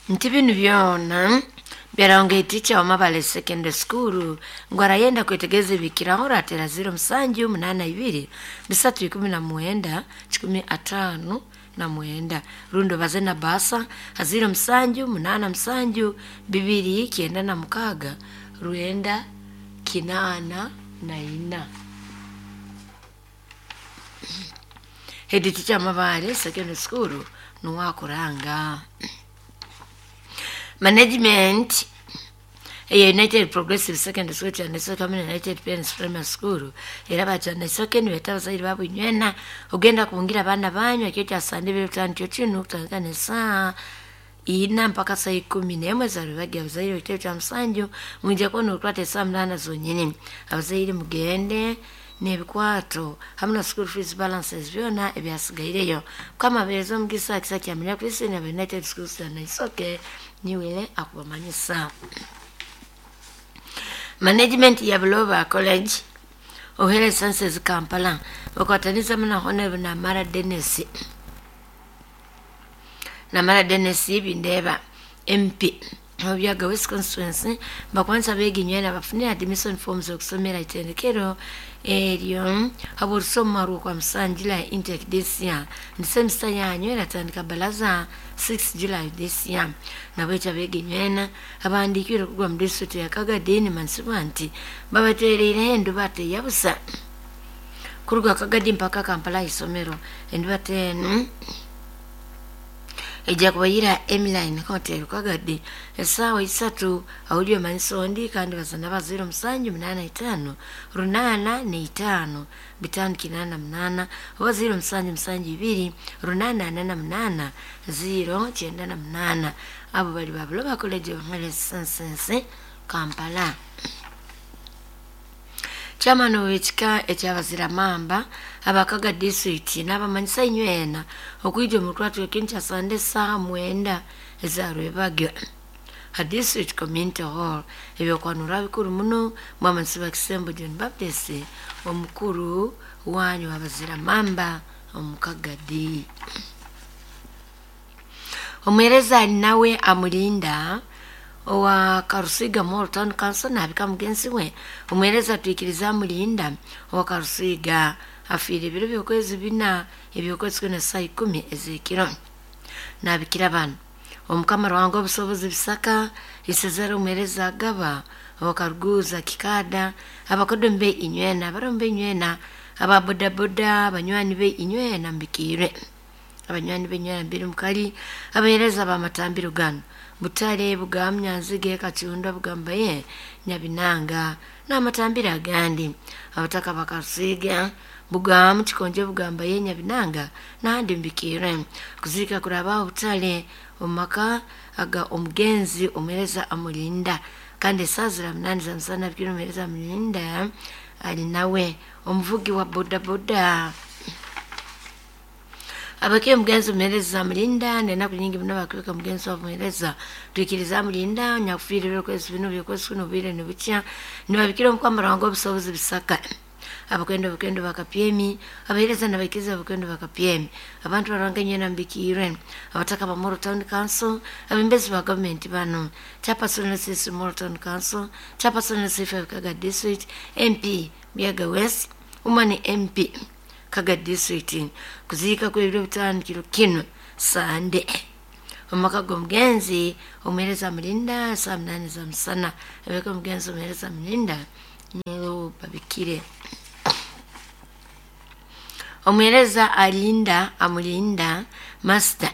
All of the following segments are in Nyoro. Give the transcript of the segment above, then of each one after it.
Nti binu byona byarangwa teacher wa Mabale Secondary School ngu arayenda kwetegereza ebikiraho ratera 0782 319 159 rundi baze na basa 0787 296 984. Head teacher Mabale Secondary School nuwakuranga. Management eya United Progressive Secondary School Kyandaisoke hamwe na United Parents Primary School era bakyandaisoke nibeeta abazaire baabo inywena ogenda kubungira abaana banyu ekiro kya Sande ebiro bitaano nikyo kinu kutandika n'esaaha ina mpaka saa 11 za abazaire ekitebe kya musanju mwija kuba norukwata esaaha 8 zonyini. Abazaire mugende n'ebikwato hamwe na school fees balances byona ebyasigaireyo. Mukama abeereze omugisa kisa kyamenya Kristo na United Schools Kyandaisoke niwele akubamanyisa. Management ya Buloba College of Health Sciences Kampala bakwataniza na Honorable Namara Dennis Namara Dennis Bindeba MP Obyaga West Constituency bakwanisa beginywena bafunire admission forms okusomera itendekero eryo haborusoma rwo kwa July intake this year ni semester yanyu eratandika balaza 6 July this year. Nabwecha beginywena abandikire kugwa mu district ya Kagadi mansibwa nti babatereire endubate yabusa kuruga Kagadi mpaka Kampala isomero endubate enu ejja kubayira Emiline Hotel Kagadi esaawa 3 awulio mansondi kandi bazana ba 0785 805 588 oba 0772 848 098. Abo bali ba Buloba College of Health Sciences Kampala. Chairman w'ekika ekyabazira mamba abakaga district n'abamanyisa inywena okwija omu rwatu ekintu kya Sande esaaha 9 ezarwebagyo ha district community hall. Ebyokwanura bikuru muno mwamanyisa Bakisembo John Baptist omukuru wanyu abazira mamba omukagadi. Omwereza nawe amulinda owa Karusiga Mall Town Council nabika mugenzi we. Omwereza twikiriza amulinda owa Karusiga afiire ebiro by'okwezi bina ebyokwezi kwena saa 10 ez'ekiro. Nabikira bano omukama Ruhanga obusobozi bisaka isezera omwereza agaba owa Karuguza Kikada abakodombe inywena abarombe inywena ababodaboda abanywani be inywena mbikire abanywani be inywena mbiri mukali abahereza bamatambiro gano Butare Bugamya Nzige Kachunda Bugambaye Nyabinanga n'amatambiro agandi abataka bakasiga Bugamu Kikonje Bugambaye Nyabinanga n'ahandi mbikire. Kuzirika kuraba Butare omumaka aga omugenzi omwereza amulinda kandi esazira 8 za musana bikiro omwereza amulinda ali nawe omuvugi wa bodaboda. Abakiye mugenzi omuhereza mulinda nenaku nyingi muno bakubika mugenzi wa muhereza twikiriza mulinda nyakufiire ebyokwezi bino byokwezi kuno obwire nibukya nibabikira omukama Ruhanga obusobozi bisaka abakwenda obukwendo bakapyemi abahereza nabaikiriza abakwendo bakapyemi abantu barwanga nywena mbikirwe abataka ba Moro Town Council abembezi ba government bano Chairperson CC Moro Town Council Chairperson C5 Kaga District MP Miaga West Umani MP Kaga District. Kuziika kw'ebiro bitaano kiro kino Sande omumaka g'omugenzi omuhereza mulinda saa 8 za musana abeka omugenzi omuhereza mulinda niwo babikire. Omuhereza alinda amulinda master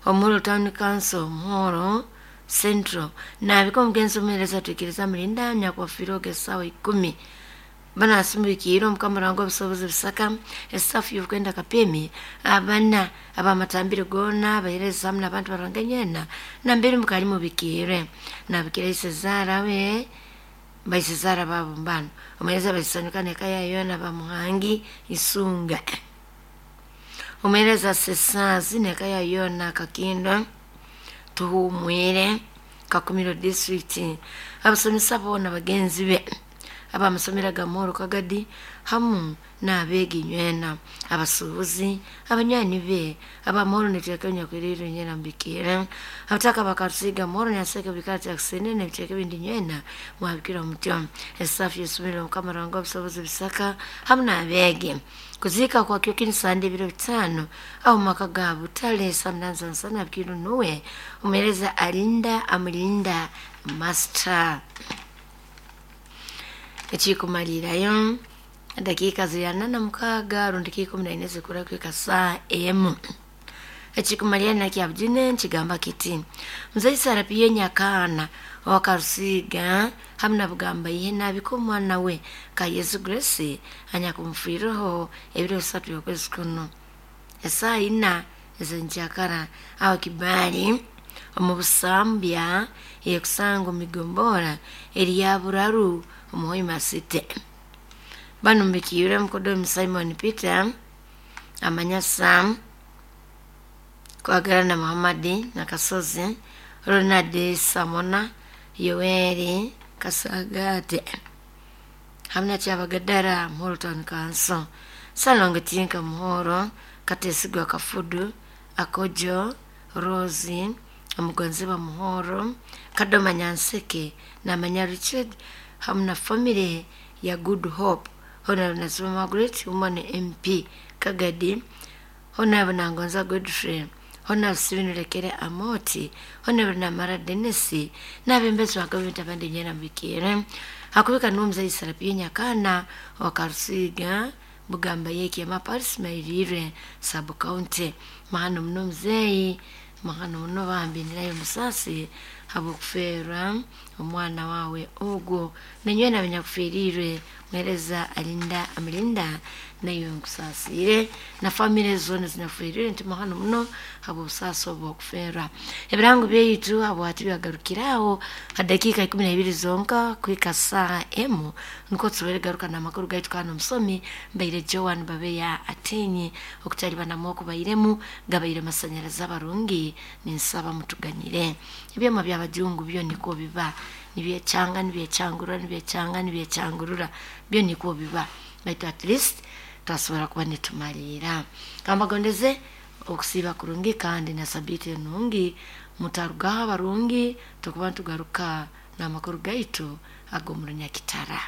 Omuro Town Council Moro Central nabika omugenzi omuhereza twikiriza mulinda nyakwafiire esaawa 10 banasumbukiire omukama Ruhanga obusobozi bisaka esafu y'okwenda kapemi abana abamatambiro gona abahereza hamwe n'abantu barwanga nyena nambere mukali mubikire nabikira isezara we baisezara babo mbano omuhereza baisanyuka neka yayona bamuhangi isunga omuhereza sesazi neka yayona kakindo tuhumwire Kakumiro District abasomesa bona bagenzi be Abamasomero ga Moro Kagadi hamu n'abeegi nywena, abasuubuzi, abanywani be abamoro nitwekenya kwiriro nyena mbikira abataka bakarusiga moro nyaseke bikati akusene n'ebicweka ebindi nywena mwabikira mutyo. Esafi yesomero Mukama Ruhanga obusobozi bisaka hamu n'abeegi. Kuziika kwa kyokini Sande ebiro 5 aho maka ga Butale samnanzansana bikiro nuwe omuheereza alinda amulinda master. Ekikumalirayo dakika ziri 46 rundi 14 zikura kwika saa emu. Ekikumalira nakyabujine nkigamba kiti muzei Sarapiye Nyakaana owakarusiga hamu na Bugamba ihe nabika omwana we ka Yesu Grace anyakumfiireho ebiro 3 by'okwezi kuno esaa 4 ez'enkyakara aho Kibaali omu Busambya eyekusanga omu migombora eri ya Buraru omu Hoima City. Banu mbikiire mukodomi Simon Peter amanya Sam Kwagarana Muhammadi Nakasozi Ronald Samona Yoweri Kasagate hamwe na Kyabagadara Muhoro Town Council, Salongo Tinka Muhoro Katesigwa Kafudu Akojo Rose Omugonzi wa Muhoro Kadoma Nyanseke namanya Richard hamwe na family ya Good Hope Honorable Nasima Margaret Woman MP Kagadi Honorable Nangonza Godfrey Honorable Steven Rekere Amoti Honorable Namara Dennis n'abembezi ba gavumenti abandi nyena mbikire hakubika n'omuzayi Sarapiye Nyakaana wakarusiga Bugamba yekiyama Paris Mairire sub county. Mahano muno muzeeyi, mahano muno bambi nirayo musasi habw'okufeerwa omwana waawe ogwo nanywena abanyakufiirirwe muheereza alinda amulinda nayo nkusaasiire na famire zoona zinyakufiirirwe nti mahano muno habw'obusaasi obwo okufeerwa. Ebirango byaitu habwati byagarukiraho ha dakiika 12 zonka kuhika saa emu nukwo tusobole garuka n'amakuru gaitu. Kandi omusomi mbaire Joan Babeya Atenyi okutalibanamu okubairemu gabaire masanyarazi abarungi ninsaba mutuganyire. Ebyoma by'abajungu byo nikwo biba nibyechanga nibyechangurura nibyechanga nibyechangurura byo nikwo biba, baitu at least twasobora kuba nitumalira. Kambagondeze okusiiba kurungi kandi na sabiiti enungi, mutarugaho abarungi tukuba nitugaruka n'amakuru gaitu ag'omu Runyakitara.